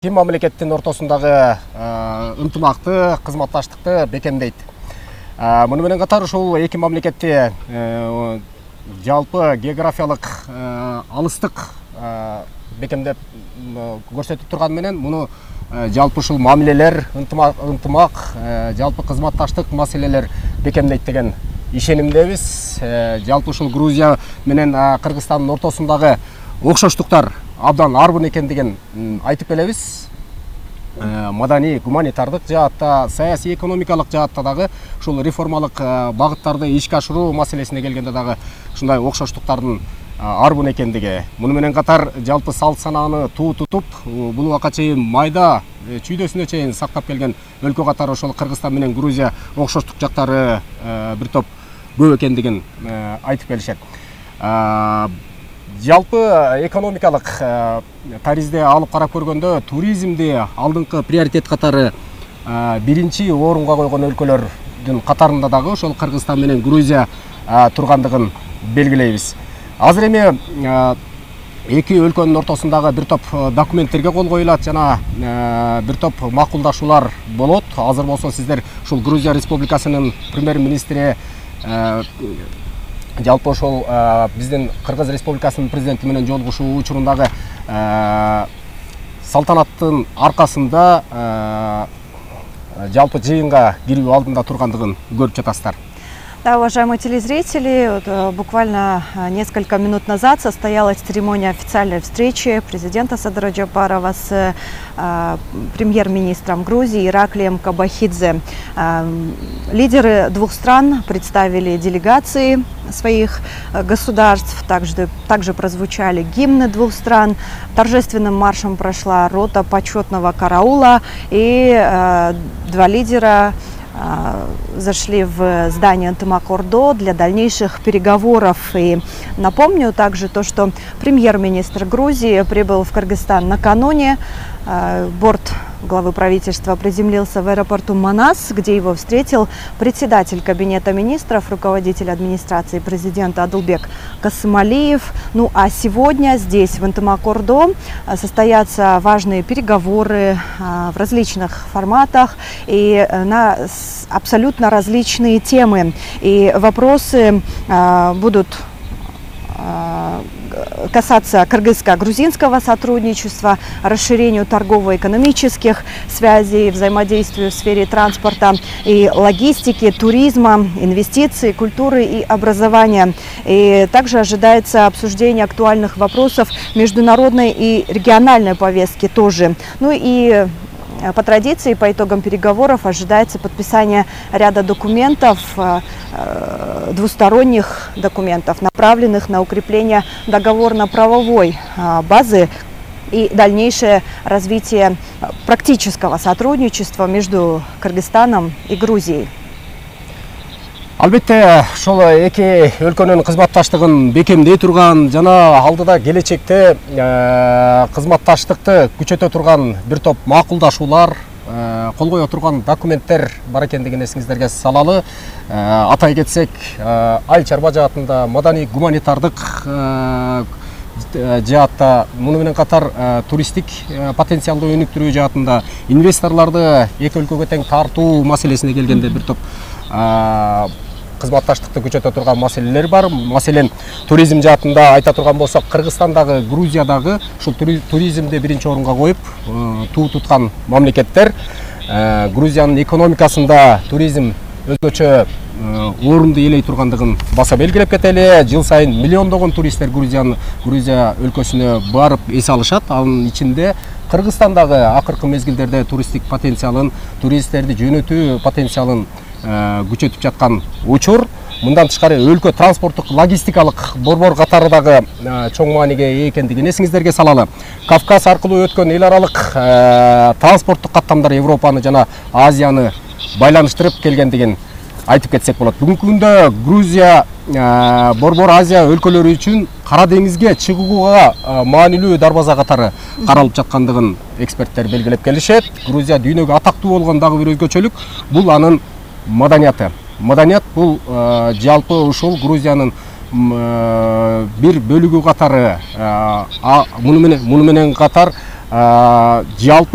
Эки мамлекеттин ортосундагы ынтымакты, кызматташтыкты бекемдейт. Муну менен катар ушул эки мамлекетти жалпы географиялык алыстык бекемдеп көрсөтүп турган менен муну жалпы ушул мамилелер, ынтымак, жалпы кызматташтык маселелер бекемдейт деген ишенимдебиз. Жалпы ушул Грузия менен Кыргызстандын ортосундагы окшоштуктар абдан арбын экендигин айтып келебиз. Маданий, гуманитардык жаатта, саясий, экономикалык жаатта дагы ушул реформалык багыттарды ишке ашыруу маселесине келгенде дагы ушундай окшоштуктардын арбын экендиги. Муну менен катар жалпы салт санааны туу тутуп, бул убакка чейин майда чүйдөсүнө чейин сактап келген өлкө катары ошол Кыргызстан менен Грузия окшоштук жактары бир топ көп экендигин айтып келишет. Жалпы экономикалык таризде алып карап көргөндө туризмди алдыңкы приоритет катары биринчи орунга койгон өлкөлөрдүн катарында дагы ошол Кыргызстан менен Грузия тургандыгын белгилейбиз. Азыр эми эки өлкөнүн ортосундагы бир топ документтерге кол коюлат жана бир топ макулдашуулар болот. Азыр болсо сиздер ушул Грузия Республикасынын премьер-министри жалпы ошол биздин Кыргыз Республикасынын президенти менен жолугушуу учурундагы салтанаттын аркасында жалпы жыйынга кирүү алдында тургандыгын көрүп жатасыздар. Да, уважаемые телезрители, буквально несколько минут назад состоялась церемония официальной встречи президента Садыра Джапарова с премьер-министром Грузии Ираклием Кобахидзе. Лидеры двух стран представили делегации своих государств, также прозвучали гимны двух стран, торжественным маршем прошла рота почетного караула, и два лидера зашли в здание Ынтымак-Ордо для дальнейших переговоров. И напомню также то, что премьер-министр Грузии прибыл в Кыргызстан накануне. Борт главы правительства приземлился в аэропорту Манас, где его встретил председатель кабинета министров, руководитель администрации президента Адылбек Касымалиев. Ну а сегодня здесь, в Ынтымак-Ордо, состоятся важные переговоры в различных форматах и на абсолютно различные темы. И вопросы будут касаться кыргызско-грузинского сотрудничества, расширению торгово-экономических связей, взаимодействию в сфере транспорта и логистики, туризма, инвестиций, культуры и образования. И также ожидается обсуждение актуальных вопросов международной и региональной повестки тоже. Ну и по традиции, по итогам переговоров ожидается подписание ряда документов, двусторонних документов, направленных на укрепление договорно-правовой базы и дальнейшее развитие практического сотрудничества между Кыргызстаном и Грузией. Албетте, ошол эки өлкөнүн кызматташтыгын бекемдей турган жана алдыда келечекте кызматташтыкты күчөтө турган бир топ макулдашуулар, кол кое турган документтер бар экендигин эсиңиздерге салалы. Атай кетсек, айыл чарба жаатында, маданий гуманитардык жаатта, муну менен катар туристтик потенциалды өнүктүрүү жаатында, инвесторлорду эки өлкөгө тең тартуу маселесине келгенде бир топ кызматташтыкты күчөтө турган маселелер бар. Маселен, туризм жаатында айта турган болсок, Кыргызстандагы, Грузиядагы ушул туризмди биринчи орунга коюп туу туткан мамлекеттер. Грузиянын экономикасында туризм өзгөчө орунду ээлей тургандыгын баса белгилеп кетели. Жыл сайын миллиондогон туристтер Грузия өлкөсүнө барып эс алышат. Анын ичинде Кыргызстандагы акыркы мезгилдерде туристтик потенциалын, туристтерди жөнөтүү потенциалын күчөтүп жаткан учур. Мындан тышкары өлкө транспорттук логистикалык борбор катары дагы чоң мааниге ээ экендигин эсиңиздерге салалы. Кавказ аркылуу өткөн эл аралык транспорттук каттамдар Европаны жана Азияны байланыштырып келгендигин айтып кетсек болот. Бүгүнкү күндө Грузия борбор Азия өлкөлөрү үчүн Кара деңизге чыгууга маанилүү дарбаза катары каралып жаткандыгын эксперттер белгилеп келишет. Грузия дүйнөгө атактуу болгон дагы бир өзгөчөлүк бул анын маданияты. Маданият бул жалпы ушул Грузиянын бир бөлүгү катары, муну менен катар жалпы